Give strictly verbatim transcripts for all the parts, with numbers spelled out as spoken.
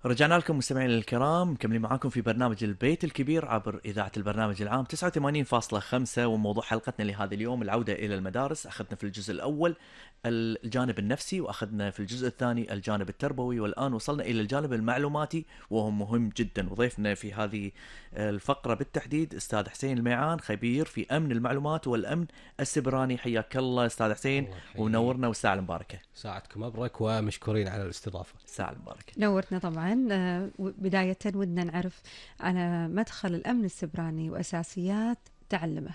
رجعنا لكم مستمعينا الكرام، مكملين معاكم في برنامج البيت الكبير عبر إذاعة البرنامج العام تسعة وثمانين فاصلة خمسة. وموضوع حلقتنا لهذا اليوم العودة إلى المدارس. أخذنا في الجزء الأول الجانب النفسي، وأخذنا في الجزء الثاني الجانب التربوي، والآن وصلنا إلى الجانب المعلوماتي وهو مهم جدا. وضيفنا في هذه الفقرة بالتحديد أستاذ حسين الميعان، خبير في أمن المعلومات والأمن السبراني. حياك الله أستاذ حسين، ونورنا والساعة المباركة. ساعتكم مبرك ومشكورين على الاستضافة. الساعة المباركة. نورتنا طبعا. بداية ودنا نعرف على مدخل الأمن السبراني وأساسيات تعلمه.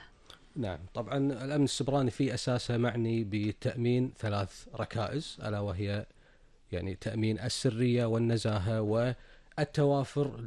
نعم، طبعا الأمن السبراني في أساسه معني بتأمين ثلاث ركائز، ألا وهي يعني تأمين السرية والنزاهة والتوافر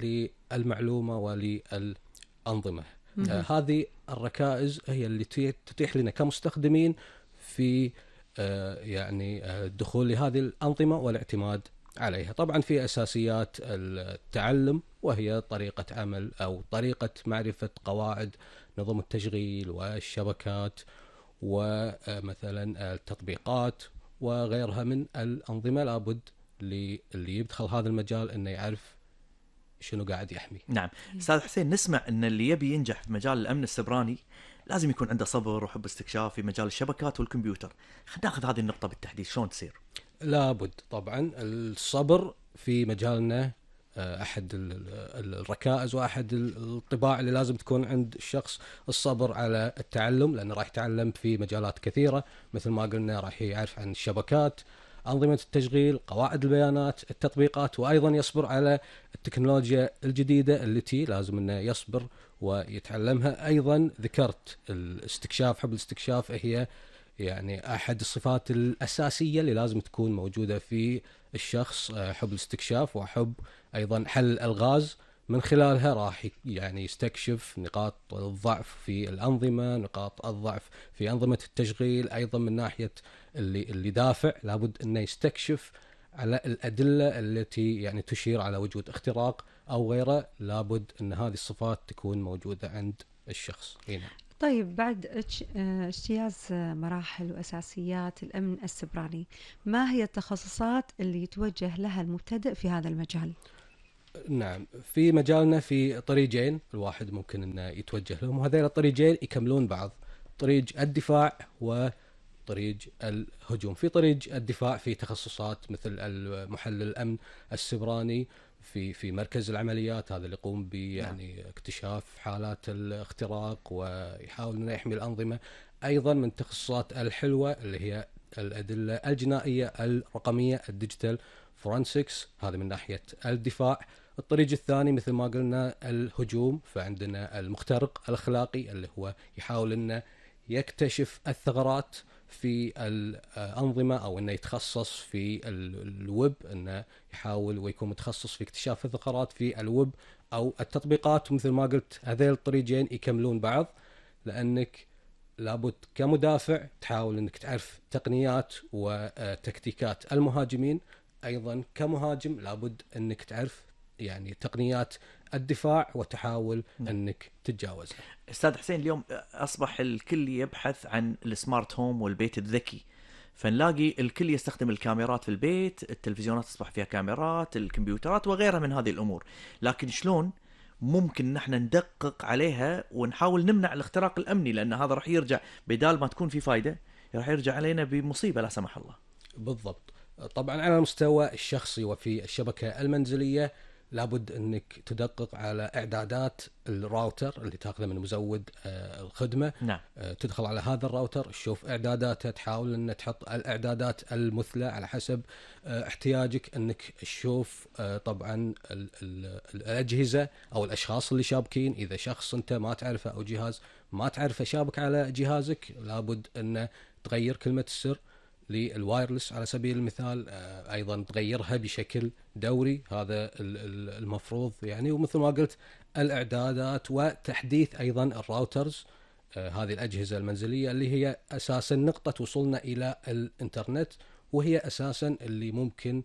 للمعلومة وللأنظمة. آه هذه الركائز هي اللي تتيح لنا كمستخدمين في آه يعني آه الدخول لهذه الأنظمة والاعتماد عليها. طبعا في أساسيات التعلم، وهي طريقة عمل أو طريقة معرفة قواعد نظم التشغيل والشبكات ومثلا التطبيقات وغيرها من الأنظمة. لابد اللي يدخل هذا المجال أنه يعرف شنو قاعد يحمي. نعم أستاذ حسين، نسمع أن اللي يبي ينجح في مجال الأمن السبراني لازم يكون عنده صبر وحب استكشاف في مجال الشبكات والكمبيوتر. خلينا ناخذ هذه النقطة بالتحديد، شلون تصير؟ لابد طبعا الصبر في مجالنا أحد الركائز وأحد الطباع اللي لازم تكون عند الشخص. الصبر على التعلم، لأنه راح يتعلم في مجالات كثيرة، مثل ما قلنا راح يعرف عن الشبكات، أنظمة التشغيل، قواعد البيانات، التطبيقات، وأيضا يصبر على التكنولوجيا الجديدة التي لازم أنه يصبر ويتعلمها. أيضا ذكرت الاستكشاف، حب الاستكشاف هي يعني أحد الصفات الأساسية اللي لازم تكون موجودة في الشخص. حب الاستكشاف وحب أيضا حل الألغاز، من خلالها راح يعني يستكشف نقاط الضعف في الأنظمة، نقاط الضعف في أنظمة التشغيل. أيضا من ناحية اللي اللي دافع لابد أنه يستكشف على الأدلة التي يعني تشير على وجود اختراق أو غيره. لابد أن هذه الصفات تكون موجودة عند الشخص هنا. طيب، بعد اجتياز مراحل وأساسيات الأمن السبراني، ما هي التخصصات اللي يتوجه لها المبتدئ في هذا المجال؟ نعم، في مجالنا في طريقين الواحد ممكن أنه يتوجه لهم، وهذين الطريقين يكملون بعض: طريق الدفاع وطريق الهجوم. في طريق الدفاع في تخصصات مثل المحلل الأمن السبراني في في مركز العمليات، هذا اللي يقوم ب يعني اكتشاف حالات الاختراق ويحاول انه يحمي الأنظمة. ايضا من التخصصات الحلوة اللي هي الأدلة الجنائية الرقمية، الديجيتال فورنسكس، هذا من ناحية الدفاع. الطريق الثاني مثل ما قلنا الهجوم، فعندنا المخترق الأخلاقي اللي هو يحاول انه يكتشف الثغرات في الأنظمة، أو أنه يتخصص في الويب، أنه يحاول ويكون متخصص في اكتشاف الثغرات في الويب أو التطبيقات. ومثل ما قلت هذين الطريقين يكملون بعض، لأنك لابد كمدافع تحاول أنك تعرف تقنيات وتكتيكات المهاجمين. أيضا كمهاجم لابد أنك تعرف يعني تقنيات الدفاع وتحاول م. أنك تتجاوزها. أستاذ حسين، اليوم أصبح الكل يبحث عن السمارت هوم والبيت الذكي، فنلاقي الكل يستخدم الكاميرات في البيت، التلفزيونات أصبح فيها كاميرات، الكمبيوترات وغيرها من هذه الأمور. لكن شلون ممكن نحن ندقق عليها ونحاول نمنع الاختراق الأمني؟ لأن هذا رح يرجع بدال ما تكون في فايدة رح يرجع علينا بمصيبة لا سمح الله. بالضبط. طبعا على المستوى الشخصي وفي الشبكة المنزلية لابد أنك تدقق على إعدادات الراوتر اللي تأخذه من مزود الخدمة. نعم. تدخل على هذا الراوتر، تشوف إعداداته، تحاول أن تحط الإعدادات المثلى على حسب احتياجك. أنك تشوف طبعا الأجهزة أو الأشخاص اللي شابكين. إذا شخص أنت ما تعرفه أو جهاز ما تعرفه شابك على جهازك، لابد أن تغير كلمة السر للوايرلس على سبيل المثال. أيضا تغيرها بشكل دوري، هذا المفروض يعني. ومثل ما قلت الإعدادات وتحديث أيضا الراوترز، هذه الأجهزة المنزلية اللي هي أساسا نقطة وصولنا إلى الإنترنت، وهي أساسا اللي ممكن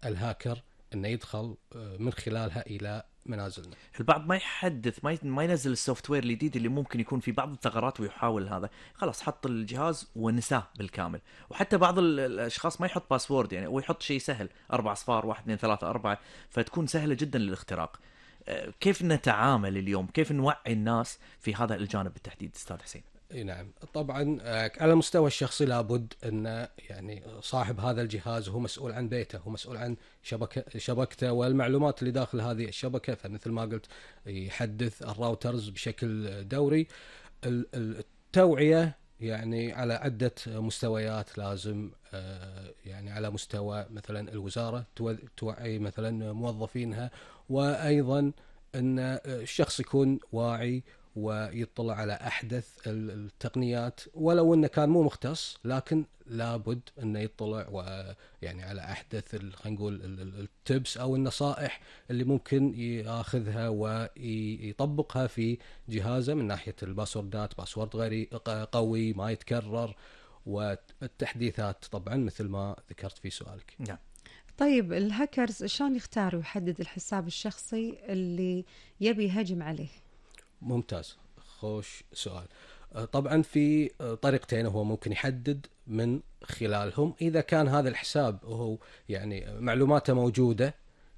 الهاكر أنه يدخل من خلالها إلى منازلنا. البعض ما يحدث ما ي- ما ينزل السوفت وير الجديد اللي ممكن يكون في بعض الثغرات ويحاول هذا، خلاص حط الجهاز ونساه بالكامل. وحتى بعض ال- الاشخاص ما يحط باسورد، يعني هو يحط شيء سهل، اربع اصفار، واحد اثنين ثلاثة اربعة، فتكون سهلة جدا للاختراق. آه، كيف نتعامل اليوم؟ كيف نوعي الناس في هذا الجانب بالتحديد استاذ حسين؟ اي نعم، طبعا آه، على المستوى الشخصي لابد ان يعني صاحب هذا الجهاز هو مسؤول عن بيته، هو مسؤول عن شبكه شبكته والمعلومات اللي داخل هذه الشبكه. فمثل ما قلت يحدث الراوترز بشكل دوري. ال- ال- التوعيه يعني على عده مستويات لازم، آه، يعني على مستوى مثلا الوزاره تو- توعي مثلا موظفينها، وايضا ان الشخص يكون واعي ويطلع على احدث ال- التقنيات، ولو انه كان مو مختص لكن لابد انه يطلع ويعني على احدث ال- خلينا نقول ال- ال- التبس او النصائح اللي ممكن ياخذها ويطبقها في جهازه، من ناحيه الباسوردات، باسورد غير قوي ما يتكرر، والتحديثات طبعا مثل ما ذكرت في سؤالك. نعم. طيب الهاكرز شلون يختار ويحدد الحساب الشخصي اللي يبي يهجم عليه؟ ممتاز، خوش سؤال. آه، طبعا في آه، طريقتين هو ممكن يحدد من خلالهم. إذا كان هذا الحساب هو يعني معلوماته موجودة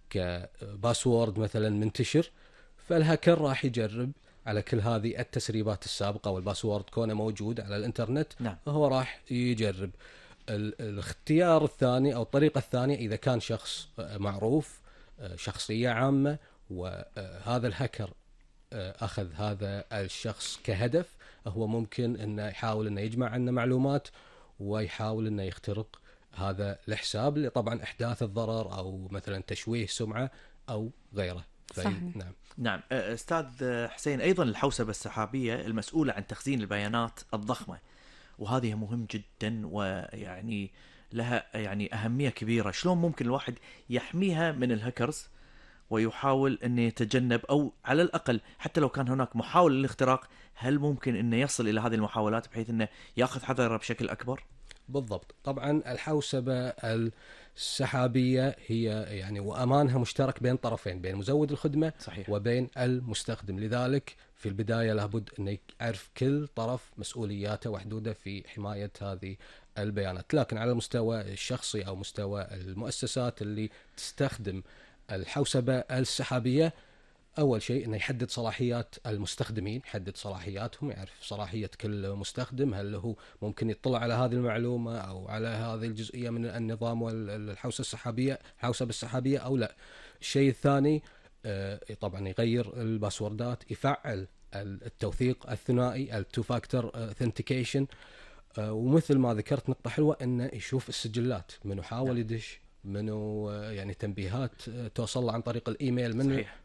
كباسورد مثلا منتشر، فالهاكر راح يجرب على كل هذه التسريبات السابقة، والباسورد كونه موجود على الانترنت نعم. هو راح يجرب. ال- الاختيار الثاني أو الطريقة الثانية إذا كان شخص آه، معروف، آه، شخصية عامة، وهذا الهاكر أخذ هذا الشخص كهدف، هو ممكن أنه يحاول أنه يجمع عنه معلومات ويحاول أنه يخترق هذا الحساب لطبعا إحداث الضرر أو مثلا تشويه سمعة أو غيره. في- صحيح. نعم. نعم. آه، استاذ حسين، ايضا الحوسبه السحابيه المسؤوله عن تخزين البيانات الضخمه، وهذه مهم جدا، ويعني لها يعني اهميه كبيره. شلون ممكن الواحد يحميها من الهاكرز ويحاول انه يتجنب، او على الاقل حتى لو كان هناك محاوله للاختراق، هل ممكن انه يصل الى هذه المحاولات بحيث انه ياخذ حذره بشكل اكبر؟ بالضبط. طبعا الحوسبة السحابية هي يعني وأمانها مشترك بين طرفين، بين مزود الخدمة صحيح. وبين المستخدم. لذلك في البداية لابد أن يعرف كل طرف مسؤولياته وحدوده في حماية هذه البيانات. لكن على المستوى الشخصي أو مستوى المؤسسات اللي تستخدم الحوسبة السحابية، أول شيء أنه يحدد صلاحيات المستخدمين، يحدد صلاحياتهم، يعرف صلاحية كل مستخدم، هل هو ممكن يطلع على هذه المعلومة أو على هذه الجزئية من النظام والحوسبة السحابية الحوسبة السحابية أو لا. الشيء الثاني آه، طبعا يغير الباسوردات، يفعل التوثيق الثنائي التو فاكتور authentication. ومثل ما ذكرت نقطة حلوة أنه يشوف السجلات، منو حاول يدش، منو آه، يعني تنبيهات آه، توصل له عن طريق الإيميل، من صحيح.